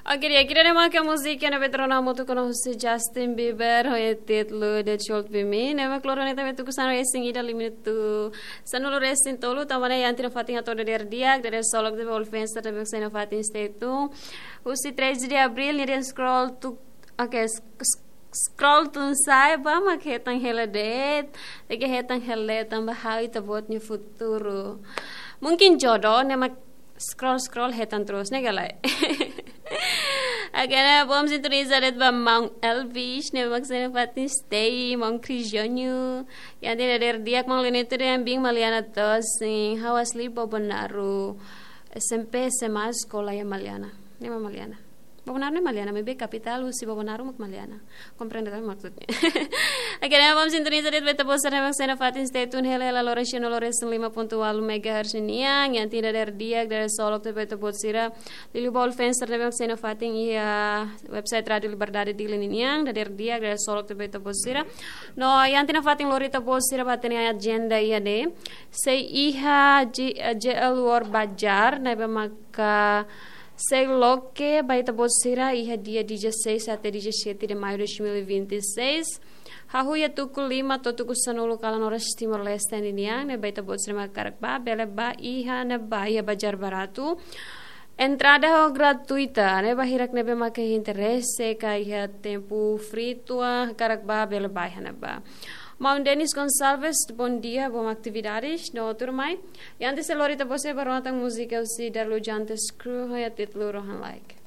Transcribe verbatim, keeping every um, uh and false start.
Oke, di'ak, ida-ne'e mak múzika ne'ebé rona hamutuk ho Justin Bieber, ho títulu The Truth Be Me. Ne'e mak loro ne'e tanba tuku sanulu-resin-ida, limite tuku sanulu-resin-tolu, tanba ne'e iha ita-nia fatin atu dadeer di'ak, dadeer solok, ita-boot fans sira ne'ebé mak iha ita-nia fatin, stay tune. Husi treze de abril, nia dehan scroll tu, oke, s-, s-, scroll tun sa'e, ba mak hetan hela de'it, tenke hetan hela de'it, tanba ha'u ita-boot nia futuru. Mungkin jodoh, ne'e mak scroll, scroll, hetan terus, ne'e ka lae? Agora vamos sintonizar de'it ba Maun Elvis, ne'e mak iha ita-nia fatin stay, Maun Crisionio. Iha ita-nia dadeer di'ak, Maun Lenito dehan biin Maliana tosin, ha'u asli Bobonaro, S M P, S M A, eskola iha Maliana. Ne'e mak Maliana. Bobonaro ne'e Maliana, maibé kapitál husi Bobonaro mak Maliana. Komprende tanba maksudnya. Oke, ne'e mak sintonizar de'it ba ita-boot sira ne'ebé mak iha ita-nia fatin, stay tune, hela hela loron sanulu-resin-lima pontu ualu megahertz ninian, iha ita-nia dadeer di'ak, dadeer solok, ita-boot sira. Liuliu ba all fans sira ne'ebé mak iha ita-nia fatin iha website Rádio Liberdade Dili ninian, dadeer di'ak, dadeer solok, ita-boot sira. No, iha ita-nia fatin lori ita-boot sira ba hatene agenda iha ne'e. Sei iha J-, J L World Bazar, ne'ebé maka sei loke ba ita-boot sira iha dia dezasseis até dezassete de maio de dois mil e vinte e seis. Hahú iha tuku lima to'o tuku sanulu kalan oras Timor-Leste ninian, ne'ebé ita-boot sira mak hakarak bá, bele bá iha ne'ebá, iha Bazar Baratu. Entrada ho gratuita, ne'e ba hirak ne'ebé maka iha interese ka iha tempu free tua, hakarak bá, bele bá iha ne'ebá. Maun Denis Gonçalves, bom dia, bom atividades, no tuirmai. I antes sei lori ita-boot sira ba rona tan múzika husi Darlu Jantes Crew, ho títulu Rohan Like.